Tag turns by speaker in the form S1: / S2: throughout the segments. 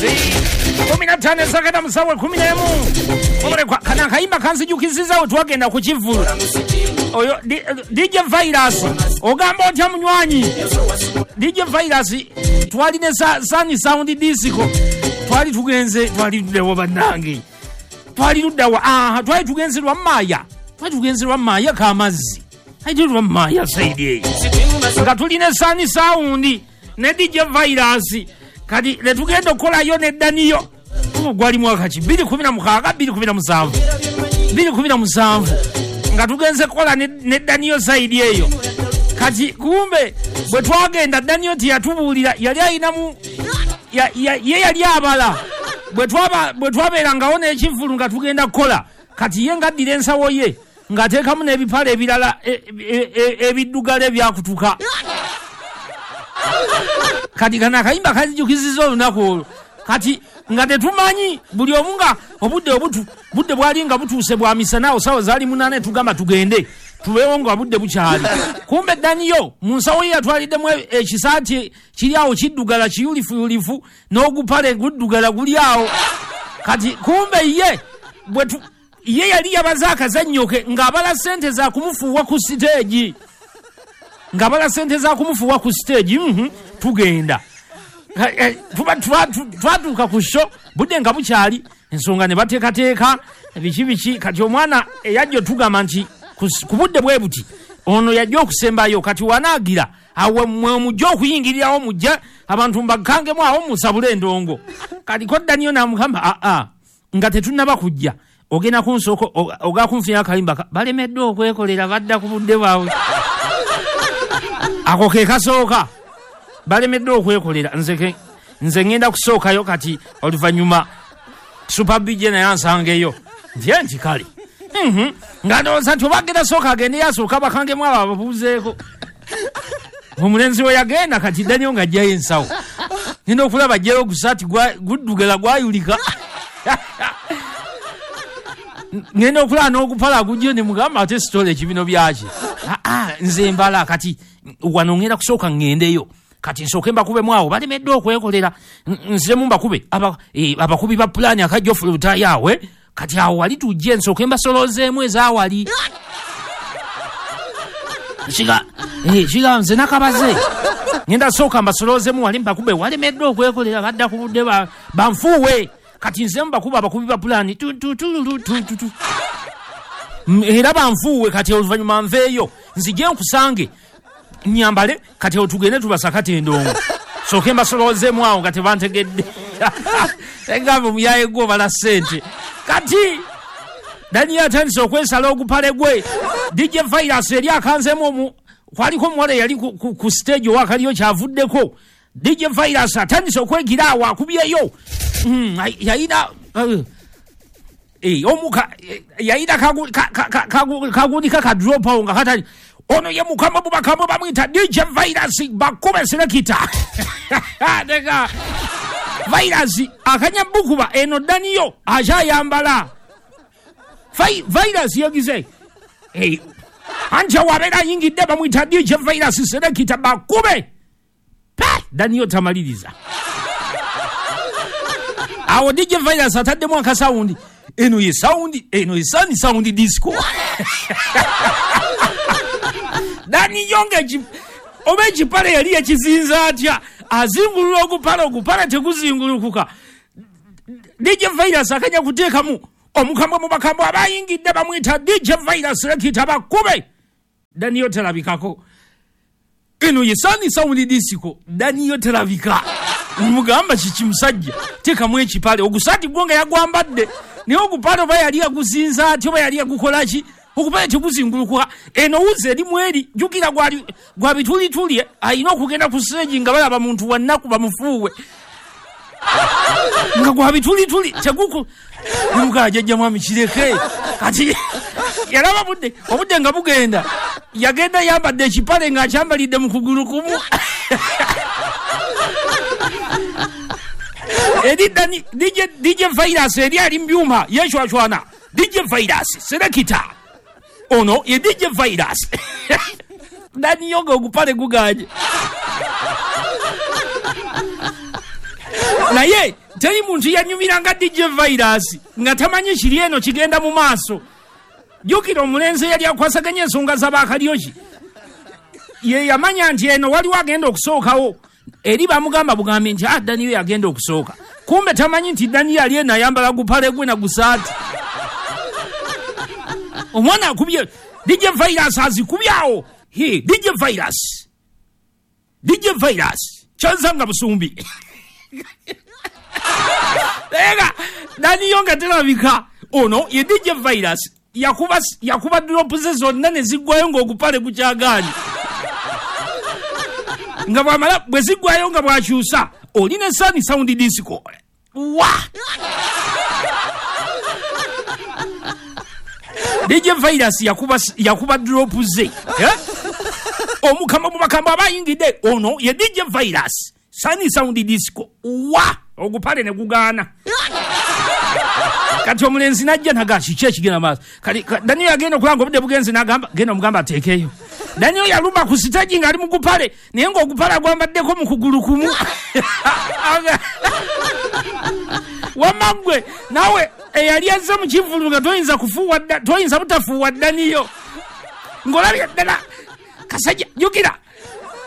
S1: 15 sakata musawe 11 omulekwa kana akayimba kanzijukizizaawo twagenda ku kivvulu oyo DJ Virus ogamba otya munywanyi DJ Virus twali ne Sunny Sound Disco twali tugenze twali tuddewo bannange twali luddawa twali tugenze lwa Maaya k'amazzi ate lwa Maaya saidi eyo nga tulina Sunny Sound ne DJ Virus kati ne tugenda okukolayo ne Daniyo gwali mwaka ki 2016 2017 2017 nga tugenze kukola ne Daniyo saidi eyo kati kumbe bwe twagenda Daniyo tiyatubuulira yali ayinamu ye yali abala bwe twabeerangawo n'ekivvulu nga tugenda kukola kati ye ng'addira ensawo ye ng'ateekamu n'ebipale ebirala ebiddugala ebyakutuka kati kano akayimba kanzijukizizza olunaku olwo kati nga tetumanyi buli omu nga obudde budde bwali nga butuuse bwa misana awo sawa zaali 8 tugamba tugende tubeewo nga budde bukyali kumbe Daniyo mu nsawo ye yatwaliddemu ekisaati kiri awo kiddugala kiyulifuyulifu n'ogupale guddugala guli awo kati kumbe ye ye yali yabaze akazannyo ke ng'abala ssente za kumufuuwa ku siteegi tugenda twatuuka ku sho budde nga bukyali ensonga ne bateekateeka biki biki kati omwana eyajja otugamba nti ku budde bwe buti ono yajja okusembayo kati wanaagira awo mwe mujja okuyingirirawo mujja abantu mbakangemu awo musabule endongo kati ko Daniyo n'amugamba aa nga tetunnaba kujja ogenda kunsooka ogakunfunira akayimba balemeddwa okwekolera badda ku budde bwabwe ako ke kasooka balemeddwa okwekolera nze ngenda kusookayo kati oluvannyuma Super BJ naye ansangeyo nti nti kale nga ndowooza nti oba agenda sooka agende yasooka bakangemu abo ababuuzeeko omulenzi we yagenda kati Daniyo ng'ajjayo ensawo ngenda okulaba ajjayo ogusaati guddugala gwayulika ngenda okulaba n'ogupala gujjo ne mugamba ate sitole ekibino byaki nze mbala kati wano ngenda kusooka ŋŋendeyo kati nsooke mbakubemu awo balemeddwa okwekolera nziremu mbakube abakubi ba pulaani akajja ofulutayaawe kati awo wali tujje nsooke mbasolozeemu ezaawali kiga nze nakabaze ngenda sooka mbasolozeemu wali mbakube walemeddwa okwekolera badda ku budde banfuuwe kati nziremu mbakuba abakubi ba pulaani era banfuuwe kati oluvannyuma nveeyo nzije nkusange nyambale kati otugende tubasakate endongo sooke mbasolozeemu awo nga tebantegedde egamba omuyaye gwo obala ssente kati Daniyo atandise okwesala ogupale gwe DJ Virus eri akanzeemu kwaliko omuwala eyali ku stage owakaliyo kyavuddeko DJ Virus atandise okwegira awo akubyeyo yayina omuka yayina kagundika ka drop awo nga katali ono ye mukama mubakamo bamwita DJ Virus bakube selekita nega Virus akanya bukuba eno Daniyo akyayambala Virus yagize anja wabeera ayingidde bamwita DJ Virus selekita bakube Daniyo tamaliriza awo DJ Virus ataddemu akasawundi eno ye sawundi eno ye Sunny Sound Disco Daniyo nga oba ekipale yali yakizinza atya azingulula ogupale teguzingulukuka DJ Virus akanya kuteekamu omukambwe mu bakambwe abayingidde bamwita DJ Virus lekita bakube Daniyo terabikako eno ye Sunny Sound Disco Daniyo terabika mugamba kiki musajja teekamu ekipale ogusaati gwo nga yagwambadde naye ogupale oba yali yaguzinza atya oba yali yagukolaki okupale teguzingulukuka eno wuzi erimu eri jjukira gwa bitulituli alina okugenda ku stage nga balaba muntu wa nnaku bamufuuwe nga gwa bitulituli teguku mugaa jjajja mwami kireke kati yalaba obudde nga bugenda yagenda yambadde ekipale ng'akyambalidde mu kugulu kumu eri DJ Virus eri ali mu byuma yeecwacwana DJ Virus selekita ono ye DJ Virus Daniyo nga ogupale guganye Naye teri muntu yanyumiranga DJ Virus nga tamanyi kiri eno kigenda mu maaso. Jjukira omulenzi eyali akwasaganya ensonga z'abakalyoki ye yamanya nti eno waliwo agenda okusookawo, eri bamugamba bugambi nti Daniyo yagenda okusooka, kumbe tamanyi nti Daniyo ali eno ayambala gupale gwe na gusaati. Omwana akubye DJ Virus azikubyawo. DJ Virus, DJ Virus kyanzanga busumbi. Ega Daniyo nga terabika ono ye DJ Virus yakuba drop ze zonna ne ziggwayo ng'ogupale gukyagaanye, nga bwamala bwe ziggwayo nga bwakyusa oli ne Sani Sound Disco wa DJ Virus yakuba drop ze omukama mu makamba abayingidde ono ye DJ Virus Sani Sound Disco wa ogupale ne gugaana. Kati omulenzi najja naga kiki ekigenda maaso. Kati Daniel agenda okulanga obudde bugenze n'agamba genda omugamba ateekeyo. Daniel yalumba ku siteegi ng'ali mu gupale naye ng'ogupale agwambaddeko mu kugulu kumu. Wamma ggwe naawe eyali azze mu kivvulu nga toyinza butafuuwa Daniyo ng'olabye ddala kasajja.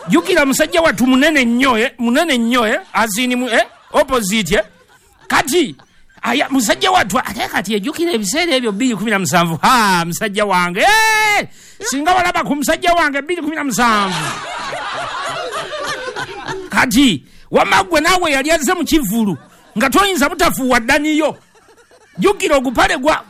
S1: Jjukira musajja wattu munene nnyo, munene nnyo, azini opposite. Kati aya musajja wattu ate kati ejjukira ebiseera ebyo 2017. Ha, musajja wange singa walaba ku musajja wange 2017. Kati wamma ggwe naawe yali azze mu kivvulu nga toyinza butafuuwa Daniyo. Jjukira ogupale gwa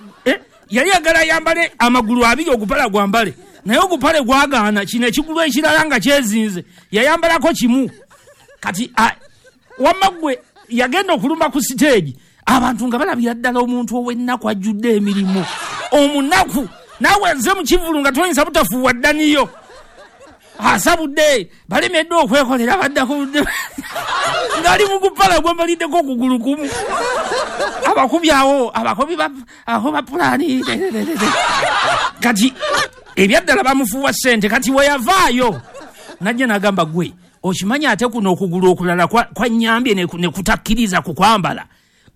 S1: yali agala ayambale amagulu abiri ogupale gwambale, naye ogupale gwagaana kino ekigulu ekirala nga kyezinze yayambalako kimu. Kati wamma ggwe yagenda okulumba ku siteegi abantu nga balabira ddala omuntu ow'ennaku ajjudde emirimu omunaku. Naawe nze mu kivvulu nga toyinza butafuuwa Daniyo asabudde balemeddwe okwekolera baddako ng'ali mu gupala gwambaliddeko okugulu kumu. Abakubi awo abakubi ba pulaani. Kati ebyaddala bamufuuwa ssente. Kati we yavaayo najja n'agamba gwe okimanyi ate kuno okugulu okulala kwannyambye ne kutakkiriza ku kwambala.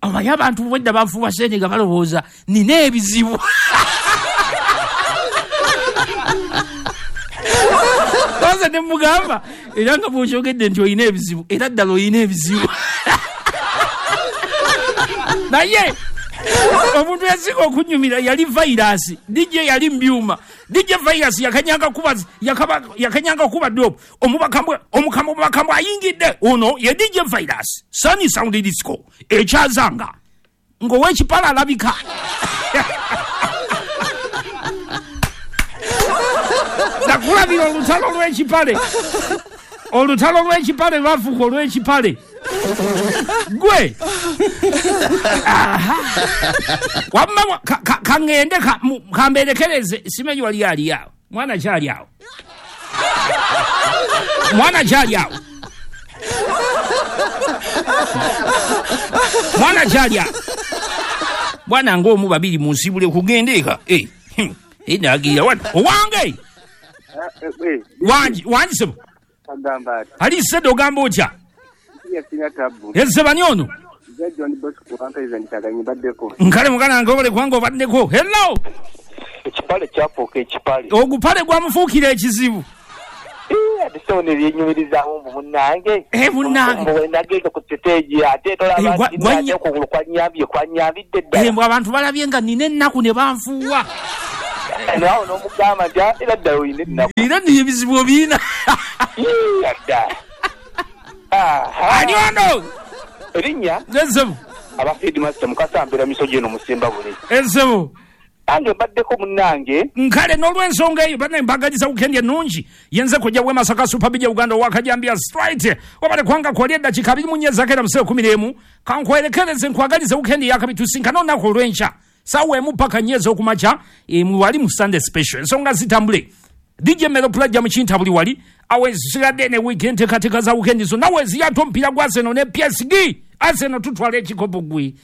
S1: Omanyi abantu bwedda bafuuwa ssente nga balowooza nina ebizibu. Kwanza ne mugamba era nga bw'okyogedde nti olina ebizibu, era ddala olina ebizibu. Naye omuntu yasinga okunyumira yali Virus, DJ yali mbyuma. DJ Virus yakanyanga kuba drop. Omukambwe ayingidde ono ye DJ Virus Sani Sound Disco ekyazanga ng'owekipala alabika. Nakulabira olutalo lw'ekipale, olutalo lw'ekipale lwafuuka olw'ekipale. Gwe wamma kaŋŋende kambeerekereze simanyi wali ali awo mwana kyali awo mwana kyali awo mwana kyali awo bwana ng'omu babiri munsibule kugenda eka nagira wano owange wangi sebo ali sedde ogamba otya? Ezebani ono nkale muganda wange obale kubanga obaddeko. Hello.
S2: Ekipale kyafuuka ekipale,
S1: ogupale gwamufuukira ekizibu.
S2: Ate so ne byenyumirizaamu mbu munnange
S1: munnange
S2: nagenda ku siteegi ate tolaba ate okugulu kwanyambye kwanyambidde ddala.
S1: Mbu abantu balabye nga nina ennaku ne banfuuwa.
S2: Nawe n'omugamba nti era ddala olina ennaku
S1: era nno ebizibu obiina.
S2: Dda
S1: ani ono
S2: erinnya
S1: Ezebu
S2: aba headmaster Mukasa misogi eno musimba buli
S1: Ezebu
S2: ange mbaddeko munnange.
S1: Nkale n'olw'ensonga eyo bannaye mbagaliza weekend ennungi. Yenze kojja bwe Masaka Super Bija Uganda owakajambia straight wabale kwanga kwali eddakiika 24 zakeera mu 11 kankwerekereze nkwagalize weekend yakabi tusinkane olunaku olw'enkya saawa emu paka 4 ez'okumakya wali mu Sunday special. Ensonga zitambule DJ Melo Plajja mu kintabuli wali awe zisigadde ne weekend tekateeka za weekend zonna we ziyata omupiira gwa Arsenal ne PSG. Arsenal tutwala ekikopo gwe.